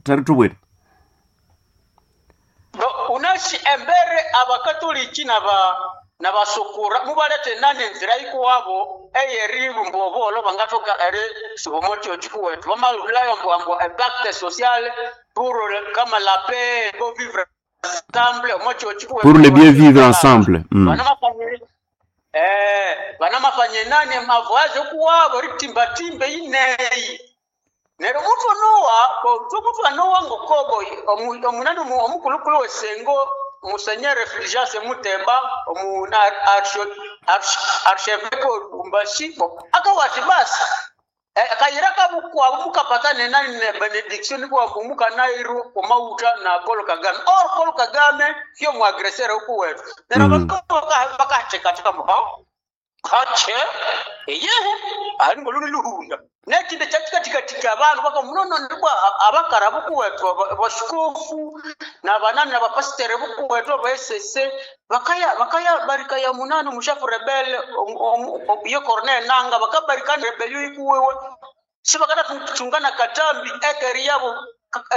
Tere tubwire. No, unasi embere abakatoliki nabasukura mubalete nani enzira ikuwabo eyeribumba obolo bangathoka erisuba omo kyokyo kuwetu bamalulayo mbwambwa epacte sociale pour kama la paix bo vivre ensemble omo kyokyo kuwetu. Pour le bien vivre ensemble. Banamafanye nani mavoyaje kuwabo ritimbatimbe ineyi neryo mutu nowa mutu anowa ngokobo omunani omukulukulu wesengo musenyere Fulgence Mutemba omuna archevêque Lubumbashi akawati basi kayira kabukwabo mukapatane nani ne benediction kwabo mukanairu omauta na Paul Kagame or Paul Kagame sio muagresere huku wetu neryo bakatekateka mubao kache eyehe ali ngoluni luhunda nekinde kyakikatika abantu baka munono ndibwa abakara bukuwethu basikofu na banani na bapasitere bukuwethu abesese bakaya bakaya barikaya munani mushafu rebele yo Corneille Nanga bakabarikana rebelio ikuwewe sibakata tungana katambi ekeri yabo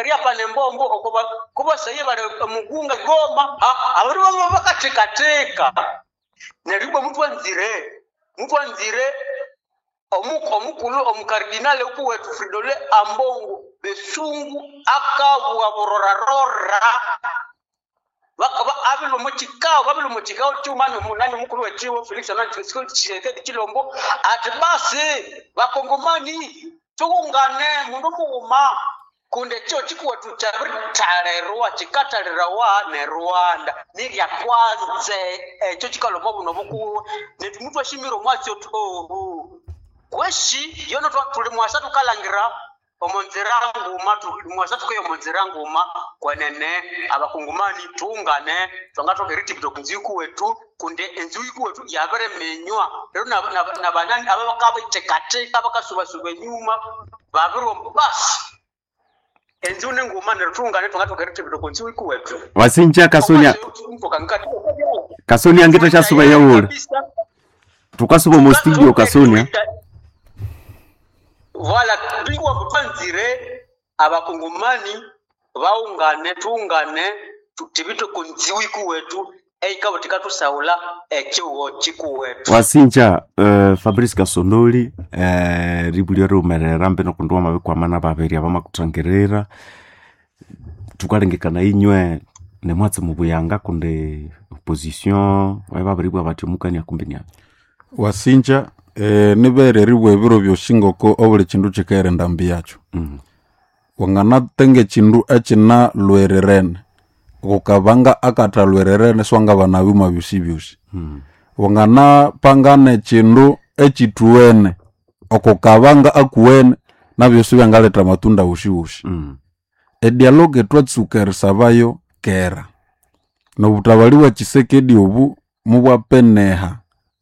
eria pane mbombo okoba kuba saye bali mugunga goma abari baba bakatekateka neribwa muthu anzire omukulu omukardinale ukuwetu Fridolin Ambongo Besungu akabwa burorarora abilo mukikao babilo mukikao kyumani munani mukulu wekiwo Felix Anani Tshisekedi Tshilombo ati basi bakongomani tuungane mundu mughuma kunde kyo kikuwetu kyabiritalirwa kikatalirawa ne Rwanda nilya kwanze ekyo kikaloma buno bukuwe netu mutu ashimire omwatsi otu ohu kweshi yono tuli mwasa tukalangira omunzira nguma mwasa tukeyo omunzira nguma kwenene abakungumani tuungane twangathoka eritibita okunzu ikuwetu kunde enzu ikuwetu yabirimenywa rero nabanani ababakabitekateka bakasubasuba enyuma babiromba basi enzu nenguma neryo tuungane twangathoka eritibita okunzu ikuwetu. Wasinja Kasonia. Kasonia ngita chasuba yawula. Tukasuba mu studio Kasonia. Voilà, bingwa mpanzire abakungumani baungane tuungane tutibite kunziwi kuwetu eikabo tikatusaula ekiwo kikuwetu. Wasinja Fabrice Kasondoli ribulio riumerera mbe nokundu wamabikwamana babiri abamakutangirira tukalengekana inywe nemwatsi mubuyanga kundi opposition babiribwa bati omukania kumbi niabi. Wasinja nibereribwa ebiro byosi ngoko obuli kindu kikaghenda mbi yakyo. Wanganatenga ekindu ekinalwererene kukabanga akathalwererene siwangabana byuma byosi byosi. Wanganapangana ekindu ekithuwene okukabanga akuwene nabyo sibyangaletha amatunda wosi wosi. Edialogue twatsuka erisabayo kera nobutabali bwa Tshisekedi obu mubwapeneha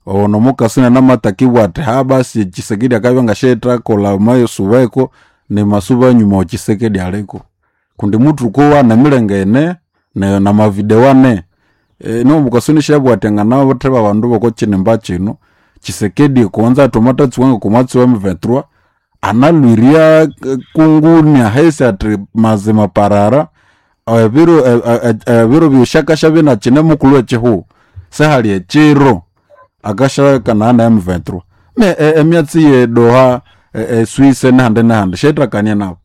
ono mukasina namatakibwa ati ha basi Tshisekedi akabya ngashethakolha mayosubeko nemasuba enyuma wa Tshisekedi aliko kundi muthuku nemilenge ene namavideo ane nomukasoni shabwa ati anganabatheba abandu boko kinimba kino Tshisekedi kuwanza tomatatsuwa ngokomwatsi wa M23 analwiria kunguni ahesi ati mazima parara ebiro byoshakasha binakine mukulhu ekihuho sehali ekiro akashakana na M23 me emyatsi ye Doha Swiss nehandi nehandi shetrakania nabo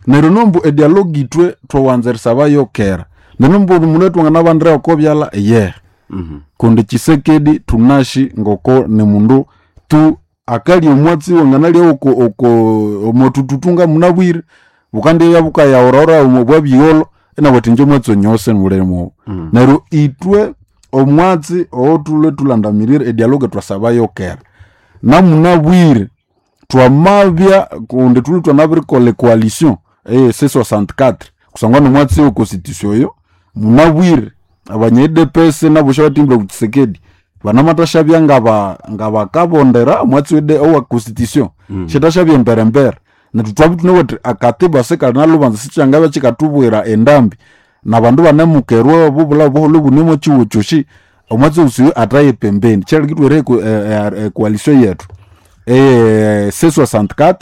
neryo nombu edialogue itwe thwawanza erisabayo kera neryo nombu omundu twanganabanira oko byala yehe. Kundi Tshisekedi thunashi ngoko ni mundu tu akalya omwatsi wanganalya oko oko omotututunga munabwire bukandibya bukayahurahura omo bwabyigholho inabwati inje omwatsi onyose mulimo. Neryo itwe omwatsi owothulwe thulandamirire edialogue thwasabayo kera namunabwire twamabya kundi thulwe thwanabirikolha ecoalition C64 kusangwa nomwatsi we constitution oyo munabwire abanya UDPS nabo syabatimbire ku Tshisekedi banamathashabya ngabakabondera omwatsi owa constitution syathashabya emberembere nethu twabya thunawithe akatiba sikalinalubanza sikyangabya kyikathubwira endambi nabandu banemukerwa obubulha obuholho obune omwa kihugho kyosi omwatsi osi athaye pembeni kyaleka ithwera ecoalition yethu C64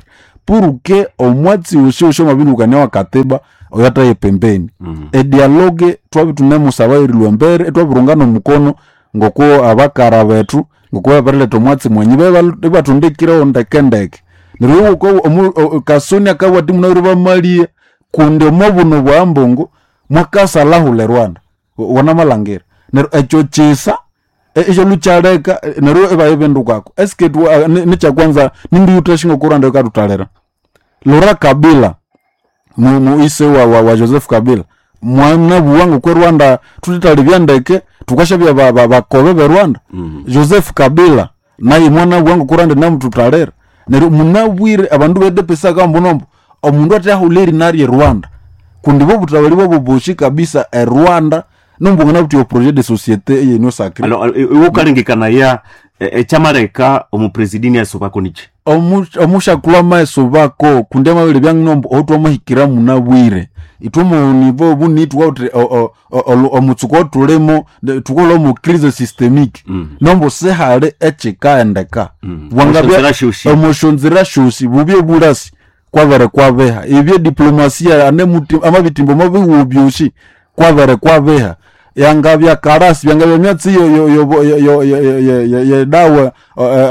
pour que omwatsi usi usi omabindukania wa katiba oyataye pembeni. Edialogue twabi tunemusaba erilwa embere, etwabirungana omukono ngoko abakara bethu ngoko babirileta omwatsi mwenyi ibatundikireho ndekendeke. Neryo Kasoni akabugha ati munabwire bamalie kundi omo buno bwa mbungu mwakasalahula e Rwanda. Wanamalhangira. Neryo ekyo kisa ekyolhukyaleka neryo ibayibindukako. Eske nikyakwanza nindiyuthasyi ngoko Rwanda yikathutalira. Lora Kabila muise wa Joseph Kabila mwanabugha ngoko e Rwanda thuthethalibya ndeke thukasyabya bakobe be Rwanda. Joseph Kabila naye mwanabugha ngoko Rwanda inamuthutalira. Neryo munabwire abandu be DPC akambuna omundu athahulha erina rye Rwanda kundi bo butawali bwabo boshi kabisa e Rwanda nombungana buthi projet de société eye Union Sacrée. Alors iwe ukalengekanaya ekyamaleka omupresidini asubako niki? Omushakulhu amaeso bako kundi amabere byanginombo otwamahikira munabwire ithwe munivo obu thuka omutsuko othulimo thukolha omu crise systemique. Nombo sihali ekikaendeka. Omushonzera syosi. Omushonzera syosi bubye bulasi kwabere kwabiha ebye diplomasia amabitimbo omubihugo byosi kwabere kwabiha yangabya karasi byangabya myatsi yedawa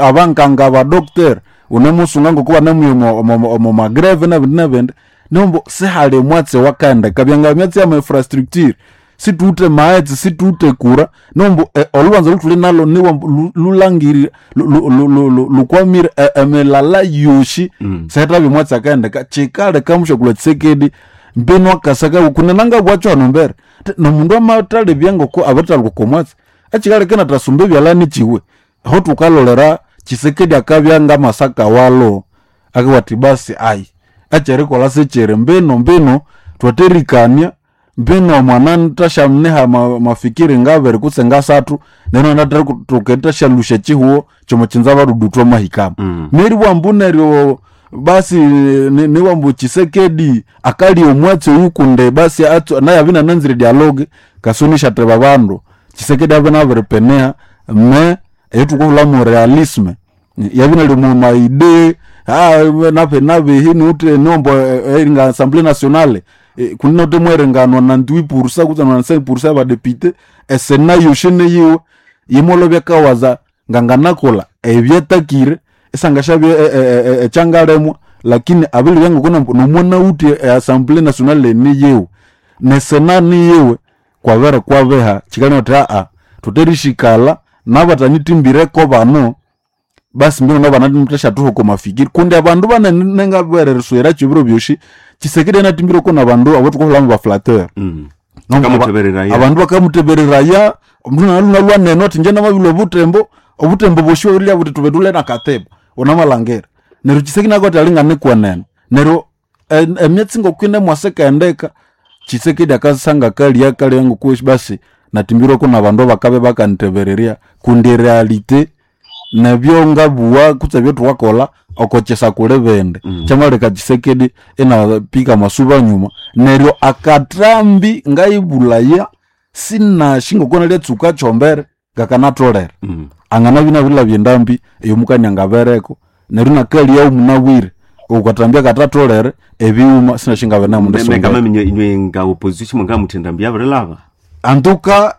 abankanga abadokter unemusunga ngoku banemuya omu magreve nabindi nabindi nombo sihali omwatsi wakaendeka byangabya myatsi ya infrastructure situwuthe maghetse situwuthe kura nombo olhubanza olhuthuli nalo niwa lulangirire lukwamire emilala yosi. Sihithabya omwatsi akaendeka kyikaleka mushakulhu Tshisekedi mbinu akasaka kunenanga bwakyo hano mbere nomundu amathalebya ngoko abirithalhuka okwa mwatsi ekyikaleka inathasumba ebyalani kyiwe aho thukalolera Tshisekedi akabya ngamasaka walho akabugha athi basi ayi ekyerikolha sikyiri mbinu mbinu thwatherikania mbinu omwana nthasyamuniha mafikiri ngabiri kutse ngasathu neryo inathoka erithasyalhusya ekyihugho kyomukyinza badudu thwamahikamu. Neribugha ambu neryo basi niwambu Tshisekedi akalya omwatsi oyu kundi basi naye abya inananzire dialogue Kasoni isyatheba abandu Tshisekedi abya inabiripinia me eyithukuhulhamu realisme yabya inali omu maide nabihi niwuthe niwambu eringa assembly nationale kundi nawuthe mweringa 98% kutse 95% yabadepite esena yosi niyiwe yimolobya kawaza nganganakolha ebyatakire isangasyabya ekyangalemwa lakini abilibya ngoko nomwanawuthe e assembly nationale niyiwe nesena niyiwe kwabere kwabiha kyikaleka wuthi thutherisikalha nabatanyithimbireko bano basi mbino nabanathashathuha oko mafikiri kundi abandu banene nengabwera eriswera ebiro byosi Tshisekedi anathimbireko nabandu abathukathulhamu ba flatteur. Bakamuthebereraya. Abandu bakamuthebereraya omundu nalwa neno athi ingye namabilhwa obutembo obutembo bwosi bwabiribya buthi thube thulhe nakatiba wunamalhangira neryo Tshisekedi nakabugha athi alinganikwenene neryo emyatsi ngoku yinemwasa ikahendeka Tshisekedi akasanga akalya akalya ngoku basi nathimbirweko nabandu abakabya bakanyithebererya kundi ereality nebyo ngabugha kutse ebyathukakolha oko kyisa kuli bindi. Kyamaleka Tshisekedi inapika amasuba nyuma neryo akathambi ngayibulaya sinasi ngoko nalyatsuka kyombere ngakanatholere. Anganabya inabirilhabya endambi eyomukania angabereko neryo inakalyawo munabwire okwathambya akathatholere ebighuma sinasi ngabere Ngamaminya inywe nga opposition mungamutha endambi yabirilhaba antuka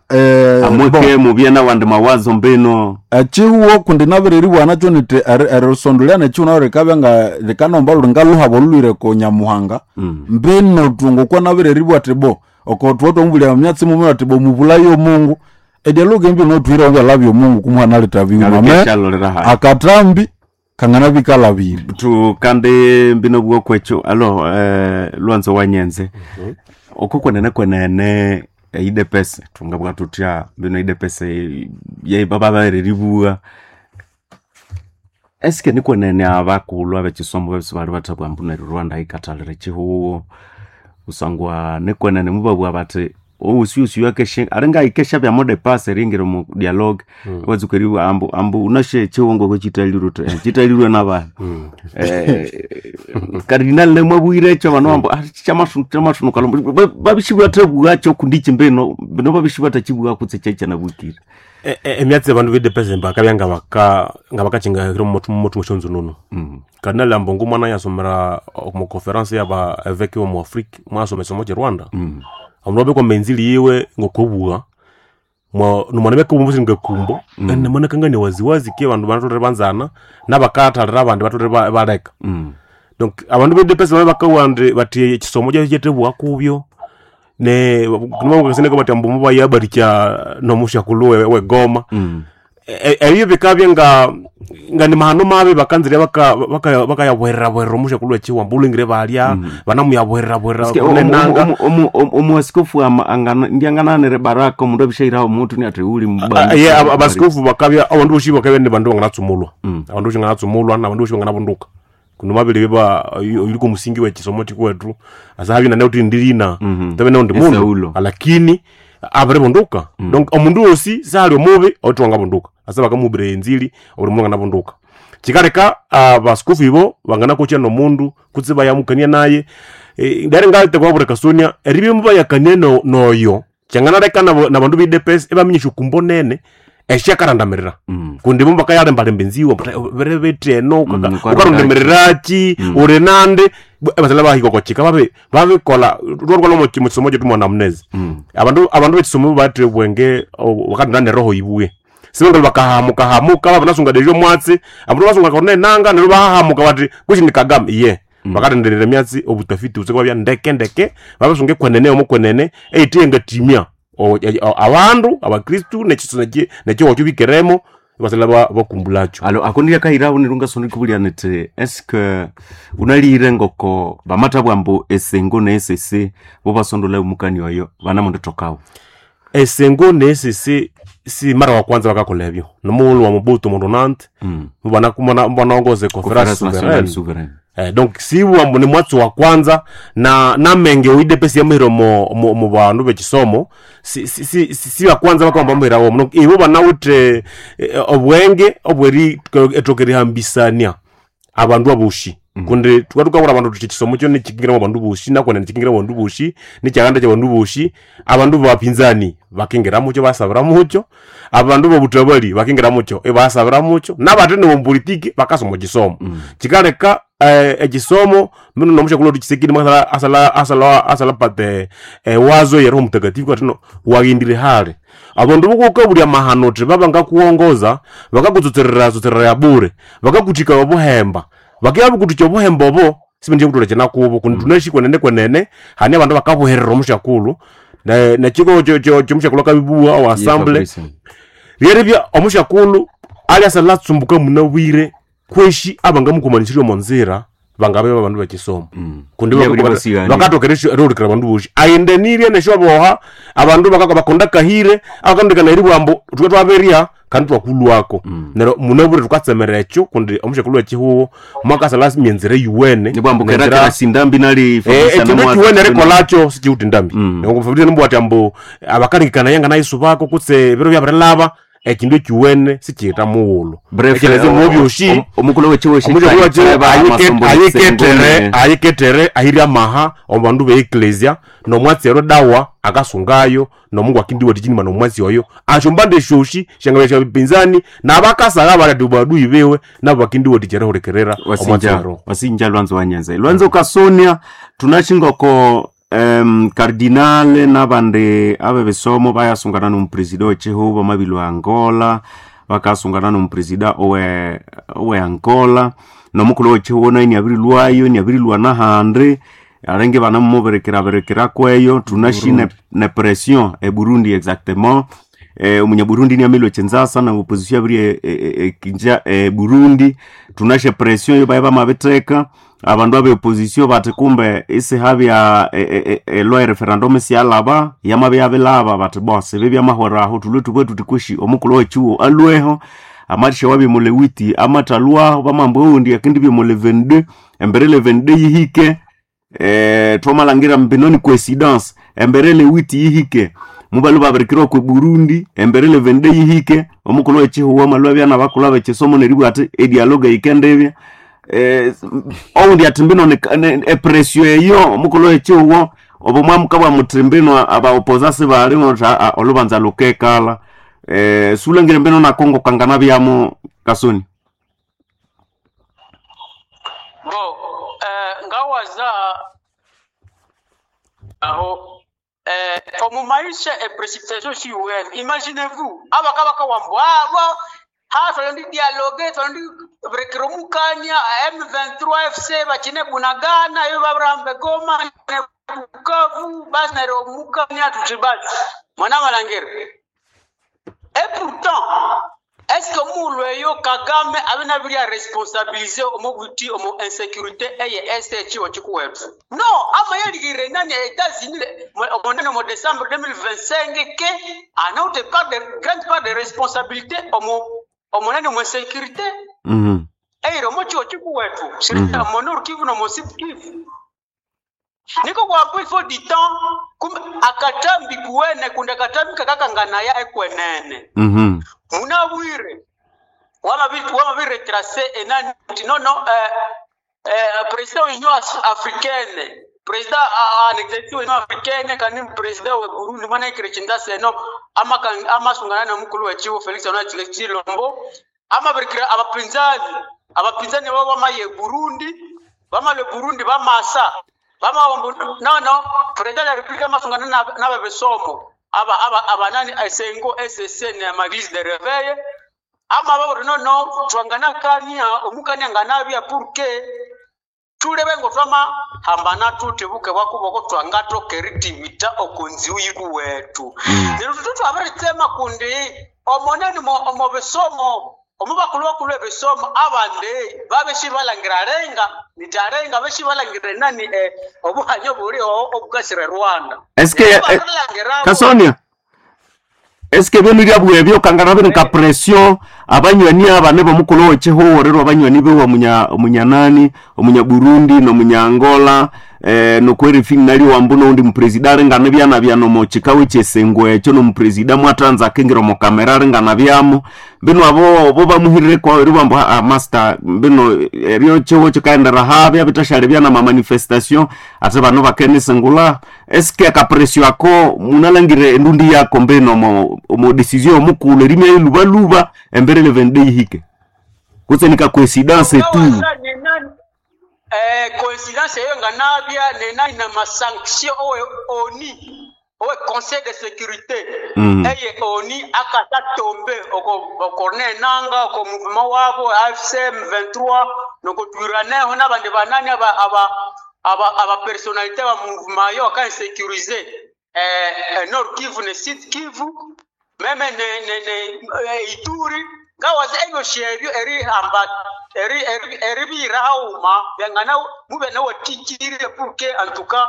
amweke mubye nawandi mawazo mbino ekyihugho kundi nabireribugha nakyo nithi erisondolya nekyihugho nalyo rikabya nga rikanomba lhuli ngaluhaba olhulhwire ko Nyamuhanga. Mbino thu ngokwa nabireribugha athi bo oko thubwa twamubulya emyatsi mumwe athi bo mubulaye omungu edialogue embi nothuhire ebyalha byomungu kumuhanaletha bighuma me ngabikyalolera hayi akathambi kanganabya ikalhabire tukande mbino bwokwekyo alo lwanzo wanyenze oko kwenene kwenene eidepese thungabugha thuthya mbino idepese bababereribugha eske nikwenene abakulhu abekisomo bebisi bali bathabugha ambu neryo Rwanda yikathalira ekyihugho kusangwa nikwenene mubabugha bathi owusiusiu akeshe aringa ikesha bya mode pass eringira mu dialogue watsuka eri ambu ambu unashe chiwongo ko chitalirwe chitalirwe nabana kardinal nemwabwire echo bano ambu chamashunuka babishibwa tabwacho kundichi mbeno bino babishibwa tachibwa kutse chacha nabwikire. Emyatsi abandu b'idepesi bakabya nga bakachinga hiro muthu mweshonzo nono. Kardinali Ambongo mwana yasomera mu conference y'aba évêque bo mu Afrique, mwasoma ekisomo kye Rwanda. Omundu abekwa menzili yiwe ngokobugha nomwana beka ngakumbo ene mwana kangania waziwazi ke abandu batolere banzana nabakathalira abandi batolere baleka. Donc abandu b'idepesi babe bakawa ndi bati ekisomo kyabyo kyetebugha kubyo ne nimabakaseneka bati ambu mubayabarikya nomushakulhu wegoma. Ebyo bikabya nga ni mahano mabi bakanzire bakayabuherera omushakulhu wekiwamba ulengire balya banamuyabuherera kunenanga. Omuasikofu ndiangananire baraka omundu abishairaho omuntu niati uli Ye abasikofu bakabya abandu boshi bakabya ni bandu banganatsumulwa, abandu boshi banganatsumulwa nabandu boshi banganabunduka kuno mabili biba yuliko musingi wekisomo kikuwetu asahabya nane uti ndirina tabe naundi mundu Esaulo. Lakini abiribunduka. Donc omundu wosi sali omubi oti wangabunduka asa bakamubira enzili obuli mundu anganabunduka. Kikaleka abasikofu ibo banganakocha nomundu kutse bayamukania naye. Ndari ngalite kwabura kasonia eribyo mubayakania noyo kyanganaleka nabandu b'idepesi ebaminyisha okumbo nene esyakarandamira kundi bo bakayalembalemba enziwa bere bete eno ukarundemereraki uri nande ebasala bahika okochika babe babikola rwarwala mu kisomo kyetu mwana munezi. Abandu bekisomo batire obwenge bakatunda neroho ibuye sibengalo bakahamuka hamuka babanasunga dejo mwatsi abandu basunga kone nanga neryo bahahamuka bati kushi ni Kagame iye. Bakatenderera emyatsi obutafiti butse bwabya ndeke ndeke babasunga ekwenene omo kwenene eyithe ngatimya abandu abakristu nekiho bikeremo basala bakumbulakyo. Alo akondia kairaho nirunga soni kubulya niti eske unalire ngoko bamatabwa mbu esengo ne esese bo basondola omukani oyo banamundu tokawo. Esengo nesese si mara wa kwanza bakakola ebyo nomughulhu wa Mobutu mundu nanti banaongoza conference Conference Nationale souveraine. Souveraine. Donc siwa ni mwatsi wa kwanza na namenge oidepesi yamahira mu bandu bekisomo si wa kwanza bakamba mahira womo. Donc ibo banawithe obwenge obweri etokerihambisania abandu aboshi kundi tukabura abandu tuti ekisomo kyo nikingiramu abandu boshi nakwene nikingiramu abandu boshi nikyaganda kyabandu boshi abandu bapinzani bakingiramucho basabiramucho abandu bobutabali bakingiramucho ibasabiramucho nabate nomupolitiki bakasoma kisomo. Kikaleka ekisomo mino nomushakulhu tukisekini mwasala asala asala asala pate wazo ya Roho Mtakatifu katino waghindire hale abandu bokukabulya mahano uthi baba ngakuwongoza bakakutsotserera tsotserera ya bure bakakuthika obuhemba bakibya bukuthikya obuhemba obo sibendie kutolekya nakubo kundi tunaishi kwenene kwenene hani abandu bakabuherera omushakulhu nekiko kyomushakulhu akabibuwa owa assembly ryeribya omushakulhu alyasa latsumbuka munabwire kweshi abangamukumanisirye omo nzira bangabe babandu bekisomo kundi Yeah, buli bosiyani. bakatokera erihulikira abandu boshi ayendenirye nesyoboha abandu bakunda kahire abakandikana eri bwambu thwe twaberya kandi twakulwako neryo munabwire thukatsemera ekyo kundi omushakulhu wekihuho mwakasala myenzera yuwene nibwambu nenzira- kerakera sindambi nali ekindu ekiwene erikolakyo sikiwuthi ndambi Fabrice nimbwati ambu abakalikana yanga nayesu bako kutse ebiro byabirilaba ekindu ekiwene sikiyita mughulhu ekyalezi mubyoshi omukulu wekiwo ayiketere ayiketere ahiri amaha obandu be eklesia nomwatsi ero dawa akasungayo nomungu akindiwatichinima nomwatsi oyo ashombande shoshi shangabya sha bipinzani nabakasagha balati badui bewe nabo bakindiwatichere hulikerera omwatsi wasinja ero wasinja lwanzo wanyenze lwanzo kasonia tunashingoko kardinale nabandi abe besomo bayasungana nomupresida wechihuba mabili wa Angola bakasungana nomupresida owe Angola nomukulu wechihuba naye niabirilwayo niabirilwa nahandi alenge banamuberekera berekera kweyo tunashi ne pression e Burundi exactement. Omunyaburundi niamilwe chinzasa na opposition abiri kinja Burundi tunashe pression yo baye bamabiteka abandu abe opposition bati kumbe isihabya lwa referendum siyalaba yamabe yabilaba bati bose bibya mahweraho tulwe tubwe tutikwishi omukulu wechiwo alweho amatisha wabi mulewiti amatalwaho bamambo undi akindi bimule 22 embere le 22 yihike twamalhangira mbinoni coincidence. Embere le witi yihike mubalu babirikirwa ku Burundi, embere le vende yihike omukulu wechihuwa malwa byana bakulu abechisomo neribwa ati edialogue yikendebya. Oundi ati mbino epresio eyo omukulu wechihuwa obo mwamuka bwa mutimbino abaopoza sibali olubanza lukekala. Sulangire mbino na Kongo kangana byamo kasoni. Bo ngawaza aho omu maisha e précipitation siwene. Imaginez-vous abakabaka wambo abo ha twalondi dialogue, twalondi burekera omukania M23 FC bakine Bunagana, yo baburambe Goma ne Bukavu, basi neryo omukania tuti basi mwana malangere. Et pourtant, est-ce que mulu eyo Kagame abe nabiri responsabiliser omu buti omu insécurité eye este chiwo chikuwetu? No, ama yaligire nani ya États-Unis omonene mu décembre 2025 ke anaute part de grande part de responsabilité omu omonene mu insécurité eyiri omu chiwo chikuwetu mu Nord Kivu no mu Sud Kivu. Niko kwambu il faut du temps kum akatambi kuwene kundi akatambi kakakanganaya ekwenene. Munabwire wama bi retracer enani no no président wa Union Africaine, président en exercice wa Union Africaine kandi président wa Burundi mwana ikire seno ama amasungana na mukulu wa chiwo Felix Antoine Tshilombo ama birikira abapinzani babo bamaye Burundi bamale Burundi bamasa bama no no président de la République amasungana n'ababesomo aba aba abanani esengo SSN ya maglise de réveil ama babo no no twangana kania omukania nganabya pour que tulebe ngo twama hambana tutebuke bwakuboko twangatokeritivita okunziu yikuwetu. Lero tutu twabiritsema kundi omoneni omo bisomo omo bakulu bakulu ebisomo abandi babeshi balangira renga nitarenga beshi balangira nani obuhanyo buri obukasire Rwanda. Eske Balangira Kasonia, eske bino lyabwebyo kangana bino ka pression abanywani aba nebo mukulu wechihuwo rero abanywani bewa munya omunyanani omunya Burundi no munya Angola nokweri nali wambu noundi mupresida aringana byana byano mochikawe chesengwe ekyo nomupresida mwatanza akingira omu kamera aringana byamo mbino abo bo bamuhirire kwa eri bambu ah, master mbino eryo chihuwo chikaendera habya bitashali byana ma manifestation ate bano bakenisengula. Eske akapresio ako munalangire endundi yako mbino mo decision omukulu erimya ilubaluba embere le 22 yihike kutse nika coincidence tu. Coïncidence eyo nga nabya nenani na masanction owe oni owe conseil de sécurité eye oni akata tombe oko Corneille Nanga oko mouvement wabo AFC M23 nokotwiraneho n'abandi banani aba aba aba aba personnalité ba mouvement yo aka insécuriser Nord Kivu ne Sud Kivu meme ne Ituri ngawazi ebyo shebyo eri hamba eri eri eri bira hauma byangana mube nawe tikirire pour que en tout cas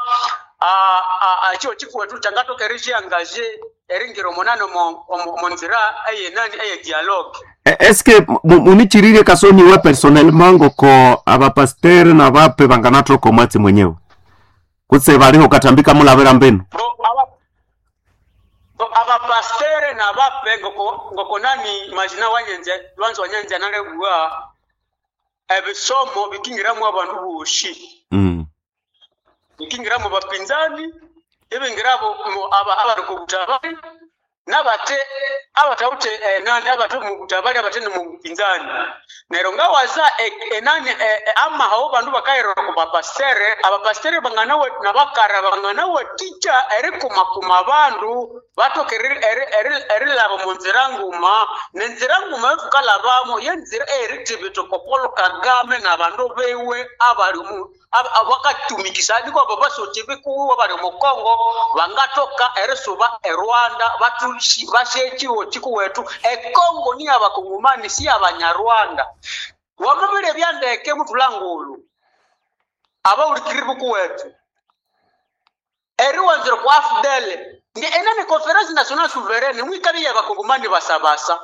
a a chio chikuwetu changatoka eri chiangaje eri ngiro monano mo nzira eye nani eye dialogue. Eske munichirire Kasoni we personnellement ngoko abapasteur na bape banganatoko mwatsi mwenyewe kutse baliho katambika mulabira mbenu? Bo aba bo abapastere na bape ngoko ngoko nani majina wanyenze lwanzo wanyenze nalebwa ebisomo bikingiramu abandu boshi bikingiramu bapinzani ibingirabo aba abari ku butabari n'abate abatawute nani abate mu butabari abate mu bupinzani nero ngawaza nani amaho bandu bakairora ku bapastere abapastere bangana we nabakara bangana we ticha eri kumakuma bandu batoke eri laba mu nzira nguma nenzira nguma yotukalabamo yenzira eritibito ko Paul Kagame n'abandu bewe abali mu abakatumikisa niko abo basoki bikuwa bali mu Kongo bangatoka erisuba e Rwanda batushi bashekiwo chikuwetu e Kongo ni abakongomani si abanyarwanda wamubile byandeke mutulangulu abaulikiri bukuwetu eriwanzire ku AFDL ndi enani conference nationale souveraine mwikabi y'abakongomani basabasa.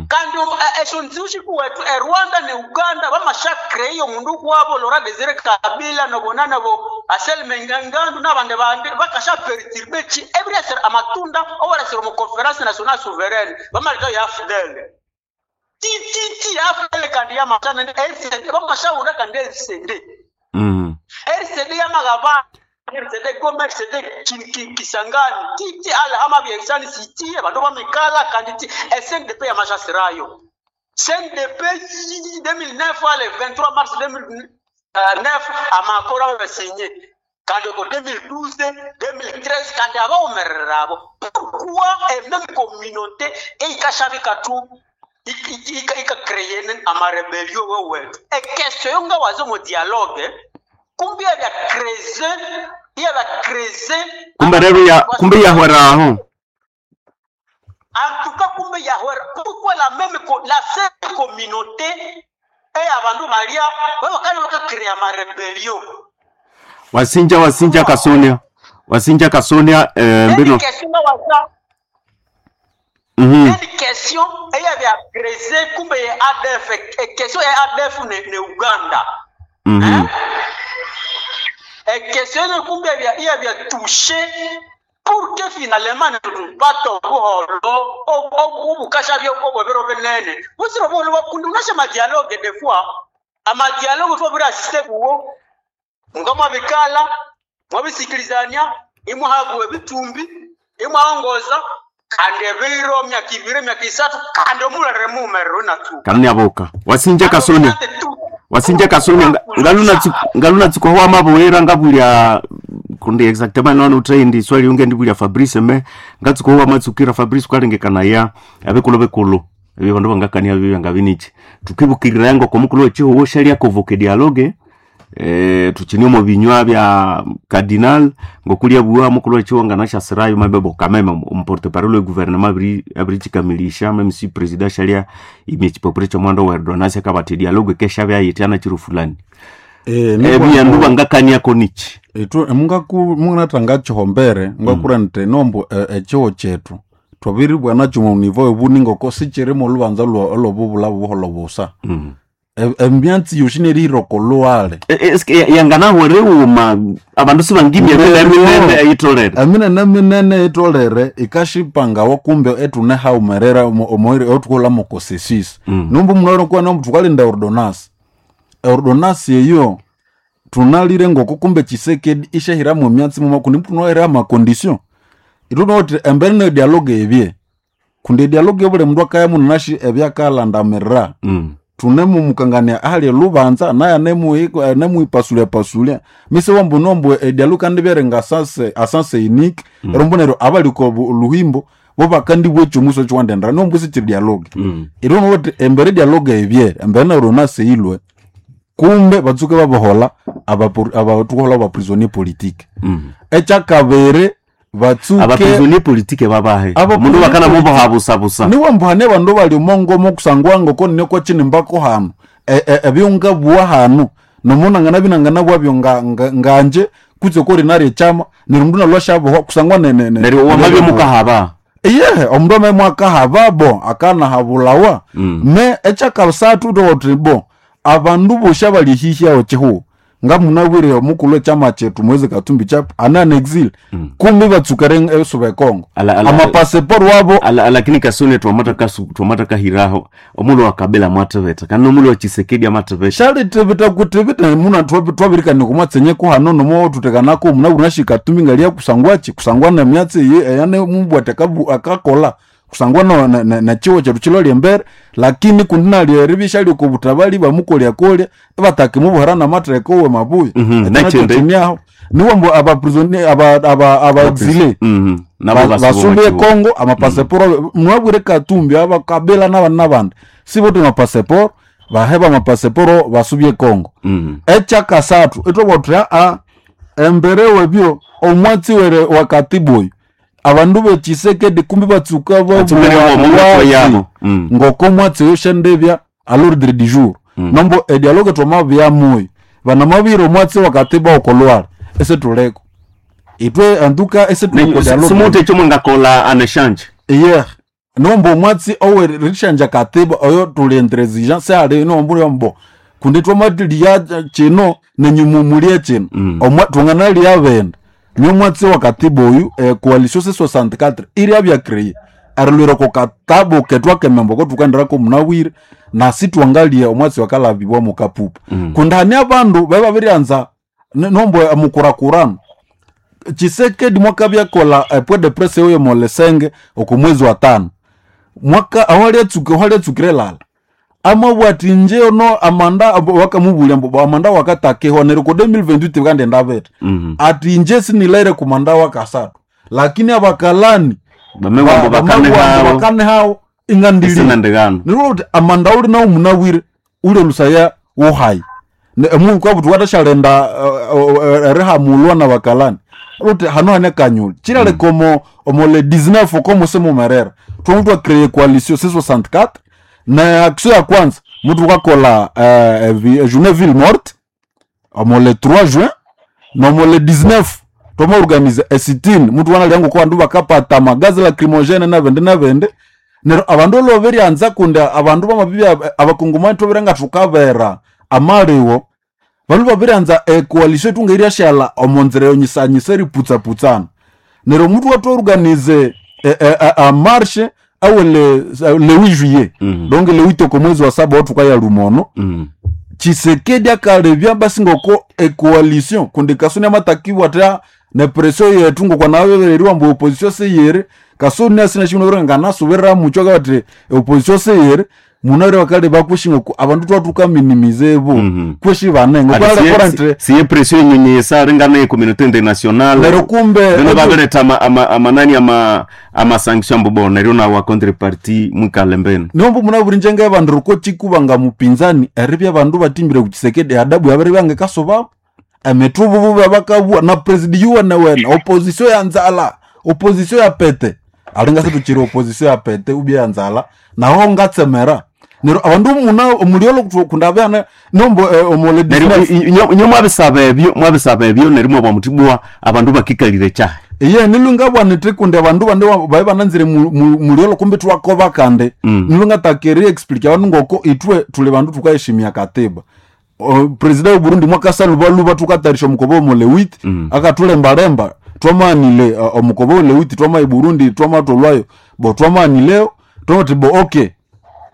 Kandi esho nziu shikuwetu e Rwanda ne Uganda bamashakre iyo mundu kwabo Laurent Desire Kabila nobonana bo Anselme Ngandu n'abandi bandi bakasha perturber ki ebiresera amatunda owaresera omu conference nationale souveraine bamaleka ya AFDL ti ti ti AFDL kandi yamasana RCD bamashaura kandi RCD RCD yamagaba RCD Goma RCD Kisangani ti ti ala hama byensani siti abandu bamikala kandi ti SNDP yamashasirayo CNDP 2009 ale 23 mars 2009 amakoro abasinye kandi ko 2012 2013 kandi abawumerera abo pourquoi e même communauté eikashabika tu ikacréer amarébellion wewetu e question yo nga wazo mu dialogue kumbe yabya creuser yabya creuser kumbe rero ya kumbe yahweraho. En tout cas kumbe yahwera. Pourquoi la même la seule communauté e abandu balia babakana bakacréer amarébellion? Wasinja wasinja Kasonia, wasinja Kasonia, mbino. Une question nga waza une question eyabya creuser kumbe ye ADF e question ya ADF ne Uganda. Hein? E question ne kumbe yabya touché pour que finalement tupate obuholo obukasha byo obwebero binene busiro buholo bakundi unasha madialogue des fois amadialogue twabura assiste kuwo nga mwabikala mwabisikilizania imuhabwe bitumbi imwaongoza kandi ebiro myaka ibiri myaka isatu kandi omulere mumerero natu Kanni aboka wasinja Kasonia, wasinja Kasonia, ngaluna tsiko wa mabwera ngabulya kundi exactement nono utrendi swali unge ndibulya Fabrice me ngatsiko wa matsukira Fabrice kwalengekana ya abekulu bekulu ebyo bandu bangakania bibya ngabinichi tukibukirira yango komukulu wechiho shalia convoque dialogue tuchini omu binywa bya cardinal ngokulya bua mukulu wechiho nganashasirayo mabebo kameme omporte parole gouvernement abiri abirichikamilisha meme si president shalia imechipopure cha mwando wa ordonnance akabati dialogue kesha bya yitiana chiru fulani. Ebyandu bangakania konichi. Itu mungatanga chihombere ngakura nti nombo echiho chetu twabiribwa nakyo mu nivo ebuningo ko sichirimo olubanza olobubula buholo busa. Emyatsi yoshi nerihiroko luwale. Eske yanganahwere uma abandu sibangimya minene eyitolere? Eminene minene itolere ikashipangawo kumbe etune haumerera omoire otukola mukosesisi nombu munoro kuwa nombu tukalinda ordonance ordonance eyo tunalire ngoko kumbe Chisekedi ishahiramu emyatsi muma kundi mtu amacondition itunoti embere ne dialogue ebye kundi dialogue buli mundu akaya munashi ebyakalandamirira tunemumukangania ahali lubanza naye anemuipasulia pasulia mise wambu nombu edialogue kandi byerenga asase asase unique erombo neryo abaliko luhimbo bo bakandi bwechomuso chiwandendera nombu sichiri dialogue itunoti embere dialogue ebye embere neryo naseilwe kumbe batsuke babohola abatukohola abaprisonnier politique ekyakabiri batsuke Abaprisonnier politique babahe Aba mundu bakana politique- mubohabusabusa niwe mbuhane bandu bali omongomo kusangwa ngoko nine kwachinimbako hanu ebyonga bua hanu nomunangana binangana bwabyo nganje kutse kori nari echama neryo mundu nalwashabohwa kusangwa neryo wamabye mukahaba. Iye omundu ameme akahaba bo akanahabulawa me ekyakasathu toti bo abandu bosi abalihihyaho chihu nga munabwire omukulu echama chetu Moise Katumbi Chapwe ana en exil kumbi batsukere esuba ekongo amapaseporo wabo. Lakini kasone twamata kasu twamata kahiraho omulo wa Kabila mwatebeta kana omulo wa Chisekedi amatebeta. Shalitebeta kutebeta muna twabirikani kumwatsenye kuhano nomo tutekanako muna shi Katumbi ngalia kusangwachi kusangwa na myatsi eyane mubwate akakola kusangwa na chiwo chetu chiloli embere lakini kundi nalieribisha liokobutabali bamukolya kolya batake mubuhara na matreko we mabuya. Nachende. Aho niwo mbu aba prisonnier aba exilé Nabo basumbe Kongo amapaseporo mwabwire Katumbi aba Kabila n'abandi n'abandi sibote amapaseporo baheba amapaseporo basubye Kongo. Ekyakasathu itwabwathuya a embere webyo omwatsi were wa katibu oyu abandu bechisekedi kumbi batsuka Batsumire omo yabo. Ngoko mwatsi oyo shendebya à l'ordre du jour nombo edialogue twamabyamuyo banamabire omwatsi wa katiba okolwala ese tuleko itwe antuka ese tuleko dialogue Simute ekyo mwengakola an échange. Iye nombo omwatsi owerishanja katiba oyo tuli intransigent seali nombo yombo kundi twamatiliya chino. Nenyumu mulie chino. Omwa tunganalia benda. Niyo mwatsi wa katiba oyu coalition C64 iria bya créé. Arilwira ko katabo ketwa kemembo ko tukandirako munawire na sitwangalia omwatsi wakalabibwa mukapupa. Kundani abandu beba birianza nombo mukurakurano. Chisekedi mwaka byakola point de presse oyo molesenge oko mwezi wa tano. Mwaka awali atsukire lala. Amabwati nje ono amanda wakamubulya mbu amanda wakatakehwa neryo ko 2028 kandi ndabeta. Ati nje sinilaire kumanda wakasatu. Lakini abakalani Bamewambo bakane hao. bakane hao ingandili. Isinandigano. Nirwo uti amanda uli nawo munawire ule lusaya wohai. Mungu kwa butu watashalenda erihamulwa na bakalani. Uti hano hane kanyuli. Chirale komo omo le 19 komo semo merera. Twamutwa créer coalition C64 na action ya kwanza mtu kakola journée ville morte omo le 3 juin na omo le 19 twama organize a sit-in mtu wanalyangu kwa bandu bakapata magazi lacrymogene na bende na bende. Neryo abandu loberianza kunda abandu bamabibya abakongomani tobirenga tukabera amaliwo bandu babirianza e coalition tungeirya shala omonzera yonyisanyisa eriputsaputsana. Neryo omutu watu organize a marche awe le 8 juillet. Donc le 8 oko mwezi wa saba watu kaya lumono. Chisekedi akalebya basi ngoko e coalition kundi kasoni amatakiwa ta ne pression yetu ngoko nabereriwa mbu opposition seyere kasoni asina shino renga nasubirira mucho kati opposition seyere munare wakale bakushinga ku abandu twatuka minimize bo kweshi banengo Ati kwala korante siye pression yenyenyesa ringana ye communauté internationale. Lero kumbe Bino babireta amanani ama sanction mbubo neryo na wa contrepartie mwikale mbenu. Niombo munaburi njenga abandu ruko chikubanga mupinzani eribya abandu batimbire ku Chisekedi adabu yabere byange kasoba emithubu babakabua na president yuwene wene opposition ya nzala opposition ya pete alinga situchiri opposition ya pete ubya ya nzala naho ngatsemera neryo abandu muna omuliolo kundabana nombo omole Neryo inyo mwabisaba ebyo neryo mwabwa mutibwa abandu bakikalire chahe. Iye nilunga bwanete kundi abandu bande babe bananzire muliolo kumbe twakoba kande. Nilunga takeri explique abandu ngoko itwe tuli bandu tukaheshimia katiba. President wa Burundi mwaka saluba luba tukatarisha omukobo omole wit akatulembalemba twamanile omukobo ole wit twama i Burundi twamatolwayo bo twamanileo twamati bo okay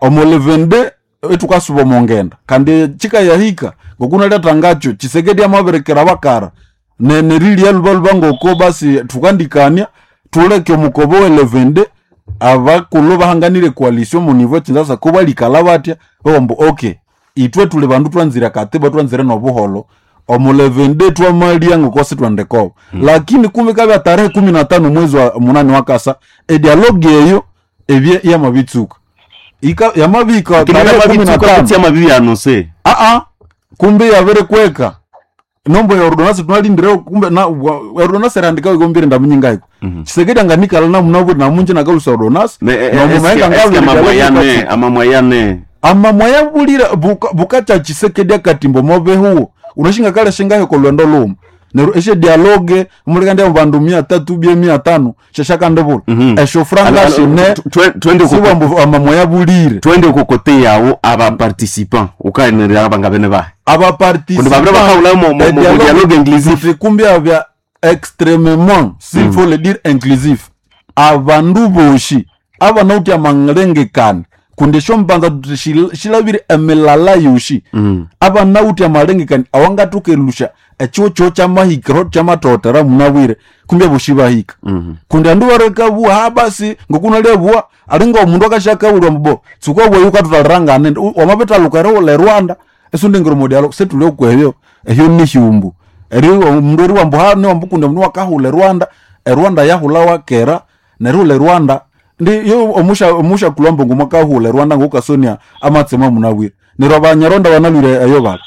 omole vende etukasuba omongenda kandi chika yahika ngokunaleta ngacho Chisekedi amaberekera bakara nerilia luba luba ngoko basi tukandikania tuleke omukobo wele vende abakulu bahanganire coalition mu niveau Kinshasa ko balikala batya bombo okay itwe tuli bandu twanzira katiba twanzire nobuholo omule vende twamalia ngoko sitwandeko. Lakini kumbe kabya tarehe 15 mwezi wa munani wakasa e dialogue eyo ebye yamabitsuka ika yamabika tarehe 15 Kutsi amabibi anonse. Aa kumbe yabere kweka nombo ya ordonance tunalindire kumbe na ordonance erandika ikombire ndamunyingaiko. Chisekedi anganikala namunaburi namunje nakalusa ordonance nomumaenga Amamwayane amamwayane amamwaya bulira bukacha Chisekedi akatimbo mobehuwo unashinga kale shingahe ko lwendo luma neryo eshe dialogue mulika bandu 300 bye 500 shashakandebula esho franga shine twende siwambu amamwaya bulire. Twende kukote yawo aba participant ukaenera abangabene bahe Abaparticipant Kundi babire bakahula mu dialogue inclusif. Kumbi abya extrêmement s'il faut le dire inclusif abandu boshi abanauti amalengekane kundi shombanza tuti shilabire emilala yoshi. Abanauti amalengekane awangatukelusha echiwo cho chamahikiro chamatotera munabwire kumbi aboshi bahika. Kundi andu barekabua ha basi ngokunalebua alinga omundu akashakabulwa mbo tsukwa bweyu ukatutalirangane wamabitalukere ule Rwanda esundingiro mudialo setule okwebyo ehyo nihyumbu eri omundu eri wambu hane wambu kundi omundu wakahula e Rwanda e Rwanda yahula wakera neryo ule Rwanda ndi yo omusha kulwambo ngumwakahula e Rwanda ngokasonia amatsema munabwire neryo abanyarwanda banalwire eyo bala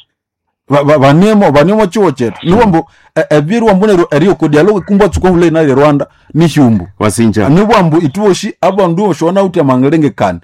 baniemo chiwo chetu niwambu ebiri wambu neryo eriyo ko dialogue kumbwa tsuko hula inali Rwanda nihyumbu Wasinja. Niwambu ituoshi abandu oshona uti amalengekane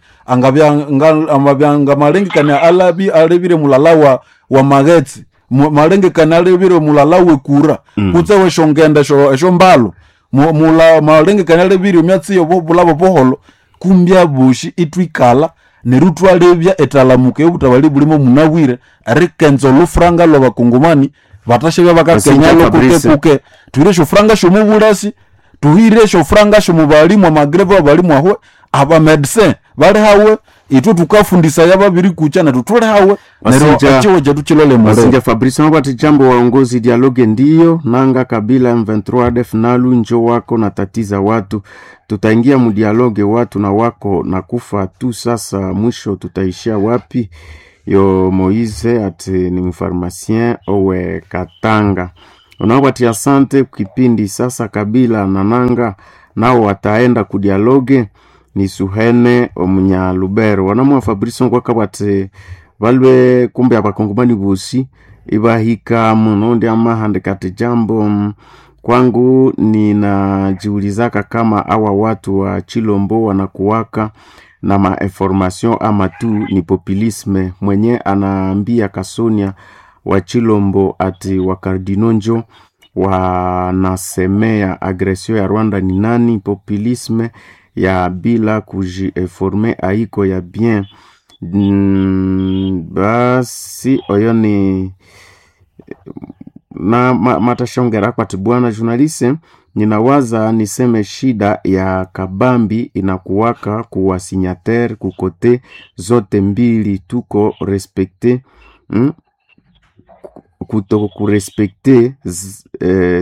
amabyanga malengekane alabi alebire mulala wa magetsi malengekane alebire mulala wekura kutse weshongenda esho mbalo mula malengekane alebire myatsi yobo bulabo boholo kumbya bushi itwikala. Neryo twalebya etalamuka ey'obutabali bulimo munabwire erikenza olufuranga lw'abakongomani batashabya bakakenya Basinja lokuke Fabrice. kuke tuhire esyofuranga sy'omubulasi, tuhire esyofuranga sy'omubalimu, amagreve abalimu ahwe, abamedecin bali hawe, itwe tukafundisaya babiri kucha nethu tuli hawe neryo echiwo chetu chilole muliro. Basinja Fabrice wabati jambo waongozi, dialogue ndiyo nanga Kabila M23 ADF nalu njo wako na tatiza watu, tutaingia mudialogue watu na wako na kufa tu. Sasa mwisho tutaishia wapi? Yo Moise ati ni mfarmasien owe Katanga unawati asante kipindi sasa. Kabila na nanga nao wataenda kudialogue ni Suhene omunyalubero wanamwa Fabrice nkwaka bati balwe kumbe abakongomani bosi ibahika muno ndi amahandika ati jambo kwangu ninajiulizaka kama awa watu wa Chilombo wanakuwaka na mainformation ama tu ni populisme. Mwenye anaambia Kasonia wa Chilombo ati wakardino njo wanasemea agresio ya Rwanda ni nani? Populisme ya bila kujiinforme aiko ya bien. Basi oyo ni na matashongera kwati bwana journaliste, ninawaza niseme shida ya kabambi inakuwaka kuwa signataire kukote zote mbili, tuko respecte kuto kurespekte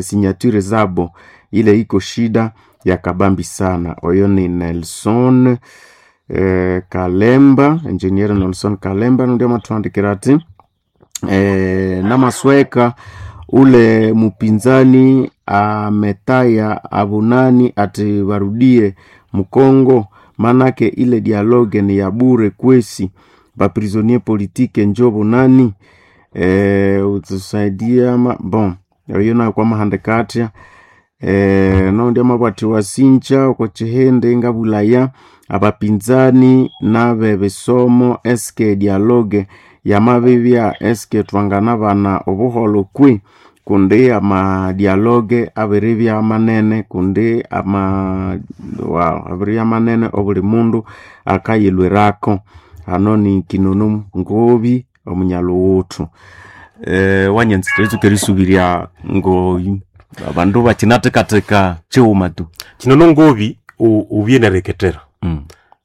signature zabo, ile iko shida ya kabambi sana. Oyo ni Nelson Kalemba, engineer Nelson Kalemba ndio matuandikira ati namasweka ule mupinzani ametaya abunani ati warudie Mkongo, manake ile dialogue ni ya bure kwesi, baprisonnier politique njo bunani utusaidia ma, bon oyo nayo kwa mahandikatia nondi amabwati wasinja uko chihende ngabulaya abapinzani nabe bisomo eske dialogue yamabibya eske twangana bana obuholo kwi kundi ama dialogue abiribya manene kundi ama wow, abiribya manene obuli mundu akayilwirako hano ni kinunu ngobi omunyaluwuthu wanyanzi twetukerisubiria ngo abandu bakinatekateka chiwuma tu Kinono ngobi ubye nereketera.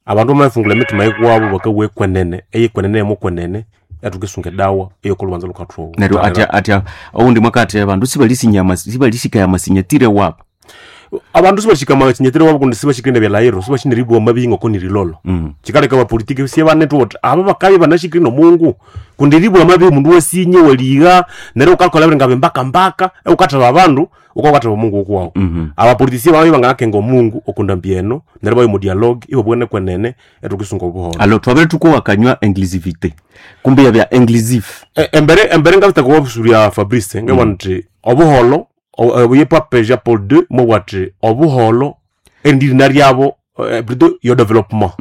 Abandu bamafungula emitima yikwabo bakawa ekwenene eyekwenene emukwenene yathukisunga edawa eyokolubanza lukathuwa. Neryo atya atya oundi mwakati abandu sibalisinyama sibalisikaya amasinyatire wabo. Abandu sibashika makinyetero wabo kundi sibashikire nebyalahiro sibashineribwa mabi ngoko nirilolo. Chikaleka abapolitiki siebanethu oti aba bakabya banashikire nomungu kundi ribwa mabi omundu wasinye waliga neryo ukakolha biringa bimbaka mbaka eukatheba abandu ukawukatheba omungu okuwawu. Abapolitisi babya banganakenga omungu okundambi eno neryo bayo mu dialogue ibabugane kwenene ethukisunga obuholho. Alo twabere tukuwakanywa inclusivité kumbe yabya inclusive. Embere ngabitaka wabusulya Fabrice ngabona nti obuholo obuye Pape Jean Paul II mobwa ati obuholo erindi ryabo plutôt yo développement.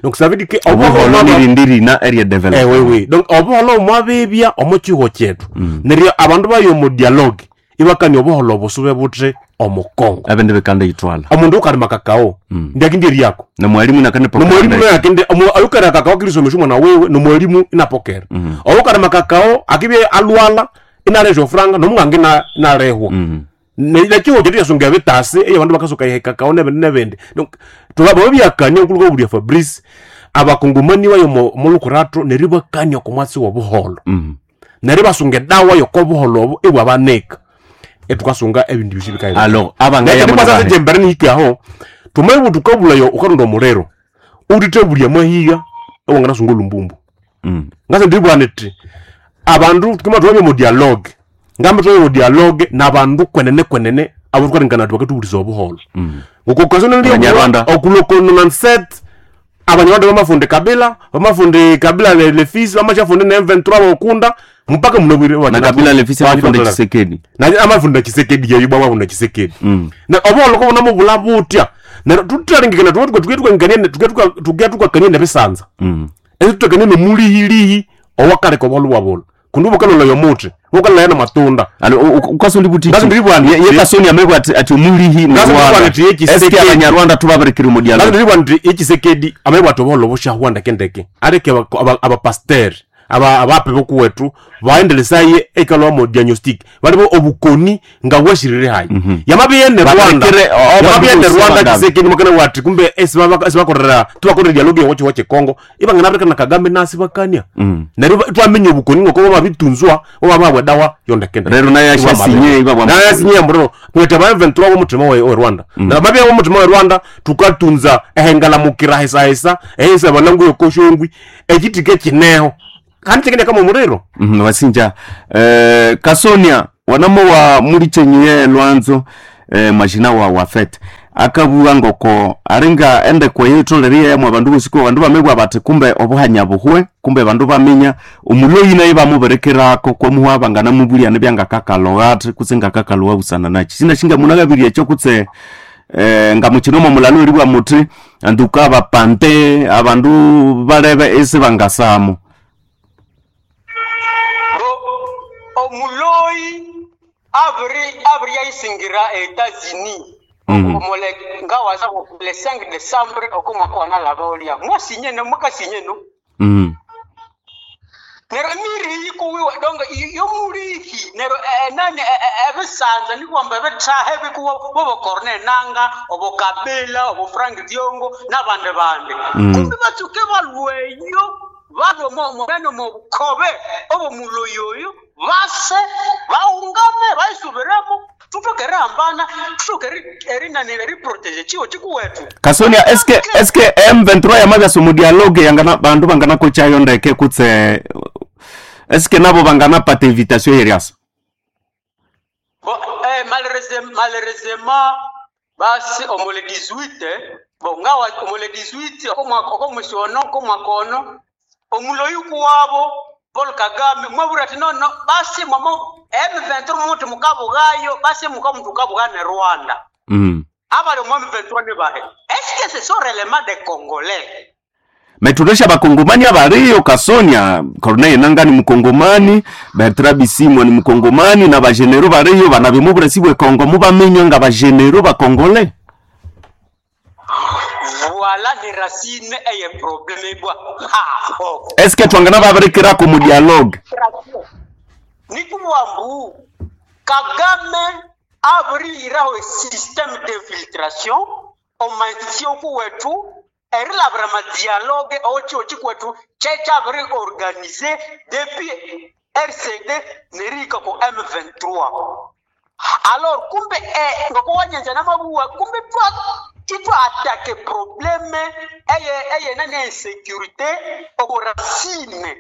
Donc ça veut dire que obuholo nirindi rina area development. Oui, oui. Donc obuholo mwabibya omu kiho kyethu neryo abandu bayo mu dialogue ibakania obuholo obusube buthi omukongo. Abende bekanda yitwala Omundu ukalima kakao ndiakindi ryako nomwalimu nomwalimu nakende ayukara kakao akilisomesha omwana wewe nomwalimu inapokera. Oyukalima kakao akibye alwala inalesha ofuranga nomwange inalehwa nekiho kyethu yasunga ebitasi eyo abandu bakasuka ihe kakao nebindi nebindi. Donc tulaba babyakania okuluka obulya Fabrice abakongomani bayo molukurato neryo bakania okomwatsi wobuholo neryo basunga edawa yokobuholo obo ibwabanika etukasunga ebindu bisi bikaira. Alo abangaya Nekindi nihikaho tumaye tukabulayo ukarunda omuliro utitebulya mahiga ewanganasunga olumbumbu. Ngase ndibwana iti abandu tukima twabye mu dialogue ngambe twabye mu dialogue nabandu kwenene kwenene abo tukalingana ati bakatubulisa obuholo Abanyarwanda. ngokukasonokuloko abanyarwanda bamafunde Kabila bamafunde Kabila le fils bamachafunde ne M23 bokunda mpaka munobwire na Kabila lefisi amafunde Tshisekedi na amafunda Tshisekedi yeyo bwa amafunda Tshisekedi na obuholo kobona mubula butya neryo tutalingikana tuke tukakania nebisanza esi tutakania nomulihilihi owakaleka obuholo bwabolo. Kundi bukalola yomuthi, bukalolaya na matunda. Alo ukasoli buti. Ngazi ndiri bwana. Ye Kasonia amebwa ati omulihi ni Ngazi ndiri Rwanda. bwana ati ye Eske Tshisekedi. Abanyarwanda tubabirekere mu dialogue. Nandiri nti echisekedi amabwa toboholo bushahwa ndeke areke abapasteri abape bokuwetu vaendelesaye eikalwa mo diagnostic balibo obukoni nga bwashirire hayi yamabiyene Rwanda. Barekere, Yamabiyene abandu Rwanda. bose. Chisekedi makana wati kumbe esibakorera tubakorera dialogue yowochi wache Kongo ibangana na Kagame nasi bakania neryo twamenya obukoni ngoko babitunzwa obababwa dawa yondekende. Rero naye ashasinye, ibabwa- naye asinye mbro kwete ba M23 wo mutima wa Rwanda na babya wo mutima wa Rwanda tukatunza ehengalamukira hesa hesa ehesa banangu yokoshongwi ekitike kineho kandi chikende kama muriro. Wasinja Kasonia wanamo wa mulichenyiye lwanzo mashina wa fet akabuwa ngoko aringa ende kweyitoleriye yamwe abandu bosiko abandu bamebwa bati kumbe obuhanya buhwe kumbe bandu baminya omuloyi naye bamuberekerako kwamuha banganamubulia nebyangakakalowa ati kutse ngakakalowa busana nachi sinashinga munakabirya ekyo kutse nga mukinomo mulalo eribwa muti anduka abapante abandu balebe esi bangasamo. Bo omuloyi abiri yayisingira Etats-Unis. Omole ngawaza le 5 décembre okomwaka wanalaba olia mwasinye no mwakasinye no. Nero miri yikuwiwa donc yomulihi nero nani ebisanza nikwamba ebithaha ebikuwa bobo Corneille Nanga obo Kabila obo Frank Diongo n'abandi bandi. Kumbi batsuke balweyo balwe nano mubukhobe obo muloyi oyo base baungame bayisubiremo tutoke erihambana tutoke erinani eriproteje chiwo chikuwetu. Kasonia eske M23 yamabya mu dialogue yangana bandu bangana kochayo ndeke kutse eske nabo bangana pata invitation yeriasa? Bon, malheureusement, basi omole 18 bon ngawa omole 18 okomwaka okomusiono okomwaka ono omuloyi kuwabo Paul Kagame mwabura ati nono basi mwamo M23 muti mukabughayo basi mukamuntu kabugha ne Rwanda. Abali mu M23 ni bahe? Est-ce que ce sont réellement des Congolais? Meturesha bakongomani abariyo Kasonia, Corneille Nanga ni mukongomani, Bertrand Bisimwa ni mukongomani na bagenero bariyo banabimubure sibwe Kongo mubamenywa nga bagenero bakongole. Voilà les racines et les problèmes bwa ha ho. Eske twangana babirekera mu dialogue? Ni kuwambu Kagame abiriraho système d'infiltration omansio kuwetu erilabira madialogue ochiwo chikwetu chechabiri organisé depuis RCD nerika ku M23. Alors kumbe ngoko wanyenza namabuwa kumbe twa titwa attaque problème eye nani insécurité oko racine.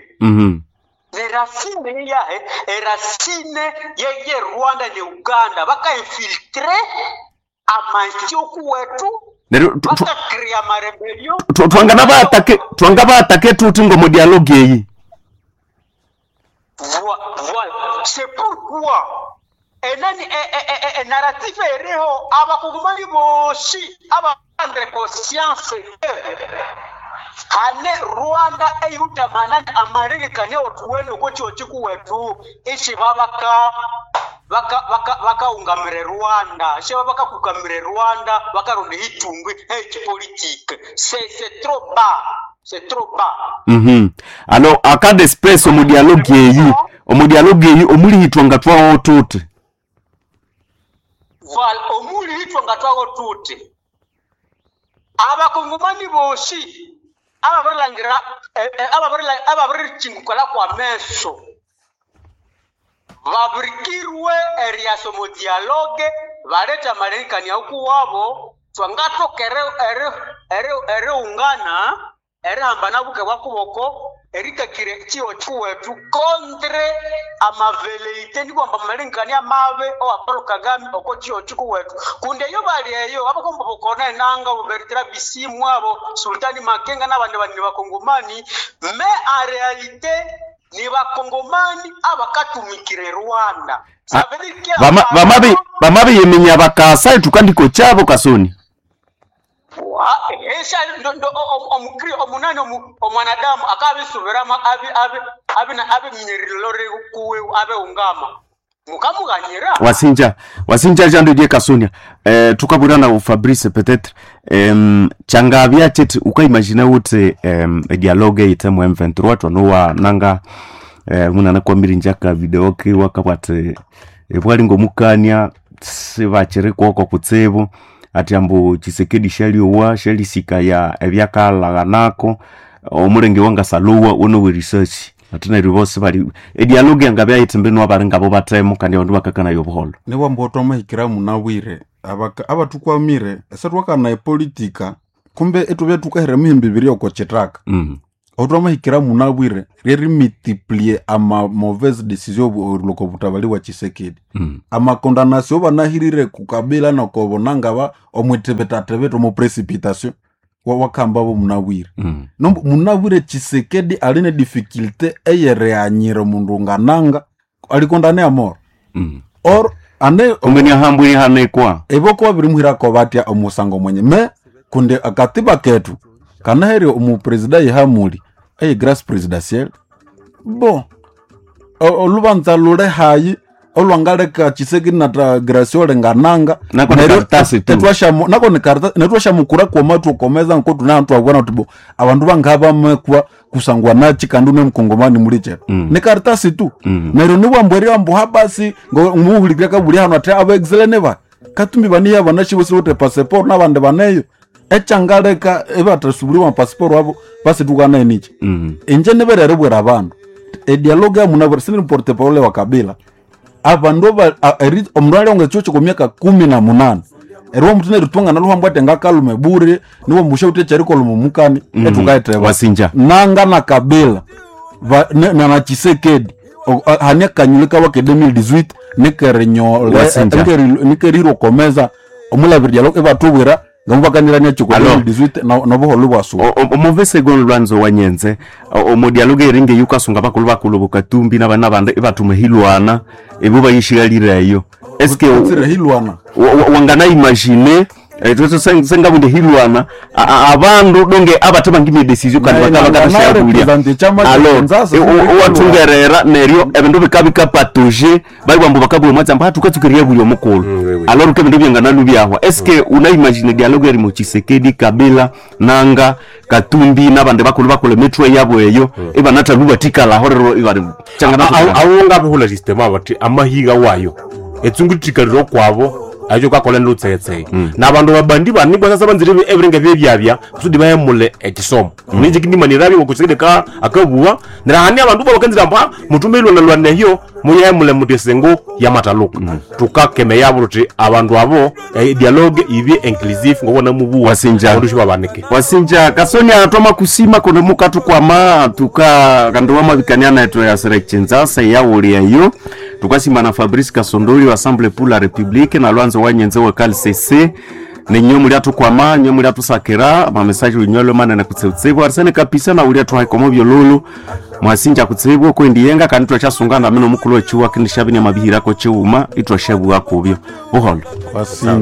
Ne racine yahe eracine ye Rwanda ne Uganda bakainfiltre amansio kuwetu. Neryo Bakakrea marebellion. Twangana baatake tuti ngo mu dialogue eyi. Voilà. C'est pourquoi enani narratif eriho abakongomani bosi abaprendre conscience que hane Rwanda eyutamanani amarekani otuwene okwo chikuwetu ishi babaka bakaungamire Rwanda she bakakukamire Rwanda bakaronda itumbwi echipolitique c'est trop bas, c'est trop bas. Alors en cas d'espèce omu dialogue eyi omu dialogue eyi omulihitwa nga twawo tuti. Voilà, omulihitwa nga twawo tuti abakongomani bosi ababirilangira ababirichingukala kwa meso babirikirwe eriaso mu dialogue baleta marekani okuwabo twangatoka eriungana erihambana buke bwa kuboko erikakire chiwo chiwetu contre amaveleite nikwamba marekani amabe owa Paul Kagame oko chiwo chikuwetu kundi eyo bali eyo abakomba bokona enanga bo Bertrand Bisimwa abo Sultani Makenga n'abandi bandi bakongomani mais en réalité ni bakongomani abakatumikire Rwanda. Ça veut dire que Bamabi bamabiyiminya bakasa tukandiko chabo Kasoni. Esha ndo omukri omunani omwanadamu akabisubiramo abi abi abi na abi mnyirilore kuwe abe ungama mukamughanyira. Wasinja, wasinja jando die Kasonia. Tukabura na Fabrice peut-être changavya cheti ukaimagine uti dialogue ite mu M23 twanowa nanga munana kwa mirinjaka video ki wakabwati bwali ngomukania sibachiri kwoko kutsibu ati ambu Tshisekedi shaliowa shalisika ya ebyakalaghanako omulenge wangasaluwa uno research ati neryo bosi bali edialogue yangabya yithi mbinu abali ngabo batemo kandi abandu bakakanayo obuholo. Niwamba twamahikira munabwire abatukwamire esetwakana epolitika kumbe etubya tukahira emihimbi ibiri oko chitaka. Aho twamahikira munabwire ryerimultiplie ama mauvaise decision oriloko butabali bwa Tshisekedi. Amakondanasio banahirire kukabila nokobonangaba omwitibitatibita omu precipitation wakamba bo munabwire. Nombu munabwire Tshisekedi aline difficulté eyereanyira omundu ngananga alikondane amor. Or ane Kumbe ni ahambwe hanekwa eboko babirimuhirako batya omusango mwenye me kundi akatiba ketu kanaheri omupresida yehamuli eye grace presidentielle bo olubanza lule hayi olwangaleka Tshisekedi nata Graciole ngananga. Nako ni Neryo karatasi tu. nako ni karatasi netwashamukura kwoma tukomeza nko tunatwabona tubo abandu bangabamekwa kusangwa nachi kandi une mkongomani muli chetu. Ni karatasi tu. Neryo niwambwerya mbu basi muhulikira kabuli hano ati abaexilene ba katumbi baniya banashibosi bote passport nabandi baneyo echangaleka ebatasubuliwa passport wabo basi tukana enichi. Inje niberere bwera abandu edialogue yamunabwera sini porte parole wa Kabila abandu omundu alionga echuo kwa miaka 18 eriwo omutu neritwanga naluhambwa ati ngakalume bure niwo musha uti echerikoluma mukani etukaeteba. Wasinja. Nanga na Kabila na Tshisekedi hani akanyule kaba ke 2018 nikerinyole Wasinja. nikerirokomeza omulabiri dialogue ebatubwira ngamubakanirania chiko Alors. 2018 nobuholo bwasuba. Omove segon lwanzo wanyenze omudialogue eringe yukasunga bakulu bakulu bokatumbi nabana bandi ibatuma hilwana ibo bayishigalireyo eske Tsire hilwana wangana imagine sengabundi hilwana abandu donge abate bangimye decision kandi Na- bakaba na- na- bakashabulia represent chama cha alors Kinshasa, watungerera neryo ebindu bikabikapatuje bali bakabula mwatsi amba tukatsukiria buli omukulu. Oui, oui. Alors ke bindu byangana byahwa eske una imagine dialogue eri mu Tshisekedi Kabila nanga Katumbi nabandi bakulu bakulu emitwe yabo eyo ibanathalu batikalaho rero ibali changana. Awo ngabihula system bati amahiga wayo etsunguthikaliro kwabo acho kakola nlutsetse na bandu babandi banibwa sasa banzire ebiringa byebyabya kusudi bahemule ekisomo ninje kindimanirabi ngokusekede ka akabuwa nirahani abandu babakenzira mba mutume ilwana lwana hiyo muyehemule muti esengo ya mataluka tukakeme yabo tuti abandu abo dialogue ibye inclusive ngokona mubuwa Wasinja. abandu shibabanike. Wasinja Kasonia atoma kusima kuno mukatukwama tuka kandu wamabikania naetu ya serechinzasa yawuliayo tukasima na Fabrice Kasondoli wa Assemblée pour la République na Lwanzo wanyenze wa KLCC ninyo muli atukwama nyo muli atusakira mamesaje unyolo manene kutseutsibwa arsene kapisa na uli atuhaikomo byolulu mwasinja kutsibwa kwendiyenga kandi twachasungana mino mukulu wechiwa kindishabini mabihirako chiuma itwashabwa kubyo buholo. Wasinja.